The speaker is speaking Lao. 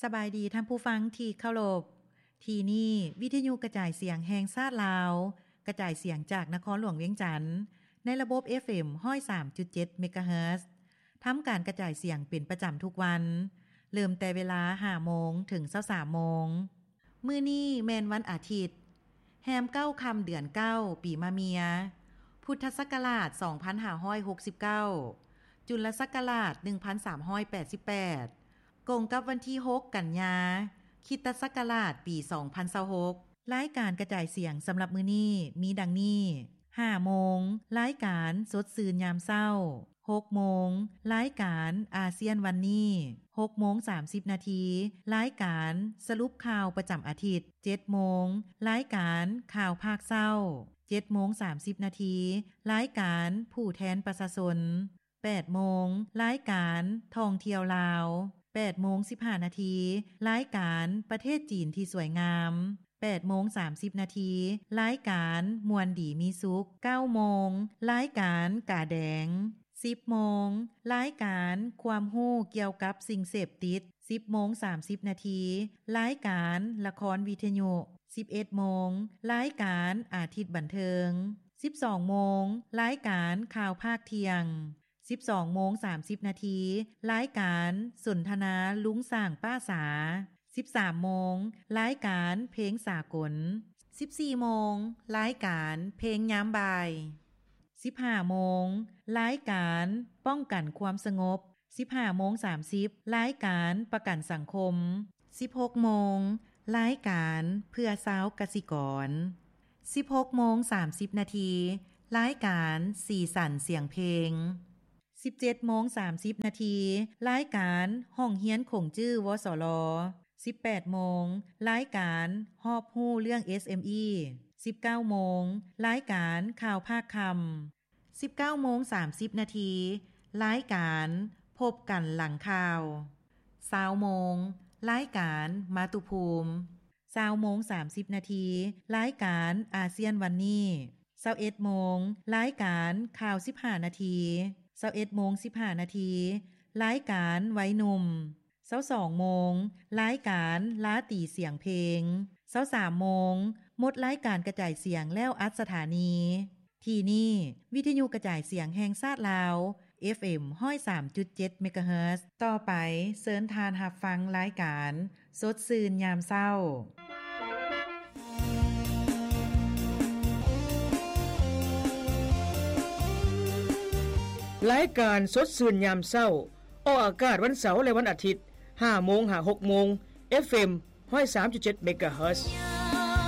ສະບາຍດີທ່ານຜູ້ຟັງທີ່ເຄົາລົບ. ທີ່ນີ້ວິທະຍຸກະຈາຍສຽງແຫ່ງຊາດລາວ, ກະຈາຍສຽງຈາກນະຄອນຫຼວງວຽງຈັນ ໃນລະບົບ ເອັຟເອັມ ຮ້ອຍສາມຈຸດເຈັດ ເມກາເຮີດ. ທຳການກະຈາຍສຽງເປັນປະຈຳທຸກວັນ, ເລີ່ມແຕ່ເວລາ ຫ້າໂມງ ເຖິງ ຊາວສາມໂມງ. ມື້ນີ້ແມ່ນວັນອາທິດ, ແຮມເກົ້າຄ່ຳເດືອນເກົ້າ ປີມະເມຍ, ພຸດທະສັກກະລາດ ສອງພັນຫ້າຮ້ອຍຫົກສິບເກົ້າ, ຈຸນລະສັກກະລາດ ໜຶ່ງພັນສາມຮ້ອຍແປດສິບແປດ, ກົງກັບວັນທີ ຫົກ ກັນຍາ, ຄຣິສຕະສັກກະລາດ ປີ ສອງພັນຊາວຫົກ. ລາຍການກະຈາຍສຽງສຳລັບມື້ນີ້ມີດັ່ງນີ້: ຫ້າໂມງ, ລາຍການສົດຊື່ນຍາມເຊົ້າ. ຫົກໂມງ, ລາຍການອາຊຽນວັນນີ້. ຫົກໂມງສາມສິບນາທີ, ລາຍການສະຫຼຸບຂ່າວປະຈຳອາທິດ. ເຈັດໂມງ, ລາຍການຂ່າວພາກເຊົ້າ. ເຈັດໂມງສາມສິບນາທີ, ລາຍການຜູ້ແທນປະຊາຊົນ. ແປດໂມງ, ລາຍການທ່ອງທ່ຽວລາວ. ແປດໂມງສິບຫ້ານາທີ, ລາຍການປະເທດຈີນທີ່ສວຍງາມ. ແປດໂມງສາມສິບນາທີ, ລາຍການມ່ວນດີມີສຸກ. ເກົ້າໂມງ, ລາຍການກາແດງ. ສິບໂມງ, ລາຍການຄວາມຮູ້ກ່ຽວກັບສິ່ງເສບຕິດ. ສິບໂມງສາມສິບນາທີ, ລາຍການລະຄອນວິທະຍຸ. ສິບເອັດໂມງ, ລາຍການອາທິດບັນເທີງ. ສິບສອງໂມງ, ລາຍການຂ່າວພາກທ່ຽງ. ສິບສອງໂມງສາມສິບນາທີ, ລາຍການສົນທະນາລຸງຊ້າງປ້າສາ. ສິບສາມໂມງ, ລາຍການເພງສາກົນ. ສິບສີ່ໂມງ, ລາຍການເພງຍາມບ່າຍ. ສິບຫ້າໂມງ, ລາຍການປ້ອງກັນຄວາມສະຫງົບ. ສິບຫ້າໂມງສາມສິບ, ລາຍການປະກັນສັງຄົມ. ສິບຫົກໂມງ, ລາຍການເພື່ອຊາວກະສິກອນ. ສິບຫົກໂມງສາມສິບນາທີ, ລາຍການສີສັນສຽງເພງ. ສິບເຈັດໂມງສາມສິບນາທີ, ລາຍການຫ້ອງຮຽນຂົງຈື່ ວສລ. ສິບແປດໂມງ, ລາຍການຮອບຮູ້ເລື່ອງ ເອສເອັມອີ. ສິບເກົ້າໂມງ, ລາຍການຂ່າວພາກຄ່ຳ. ສິບເກົ້າໂມງສາມສິບນາທີ, ລາຍການພົບກັນຫຼັງຂ່າວ. ຊາວໂມງ, ລາຍການມາຕຸພູມ. ຊາວໂມງສາມສິບນາທີ, ລາຍການອາຊຽນວັນນີ້. ຊາວເອັດໂມງ, ລາຍການຂ່າວສິບຫ້ານາທີ. ຊາວເອັດໂມງສິບຫ້ານາທີ, ລາຍການໄວໜຸ່ມ. ຊາວສອງໂມງ, ລາຍການລາຕີສຽງເພງ. ຊາວສາມໂມງ, ໝົດລາຍການກະຈາຍສຽງແລ້ວອັດສະຖານີ. ທີ່ນີ້ ວິທະຍຸກະຈາຍສຽງແຫ່ງຊາດລາວ ເອັຟເອັມ ຮ້ອຍສາມຈຸດເຈັດ ເມກາເຮີດ. ຕໍ່ໄປເຊີນທ່ານຮັບຟັງລາຍການສົດຊື່ນຍາມເຊົ້າ. ລາຍການສົດຊື່ນຍາມເຊົ້າ ອອກອາກາດວັນເສົາ ແລະ ວັນອາທິດ ຫ້າໂມງຫາຫົກໂມງ ເອັຟເອັມ ຮ້ອຍສາມຈຸດເຈັດ ເມກາເຮີດ.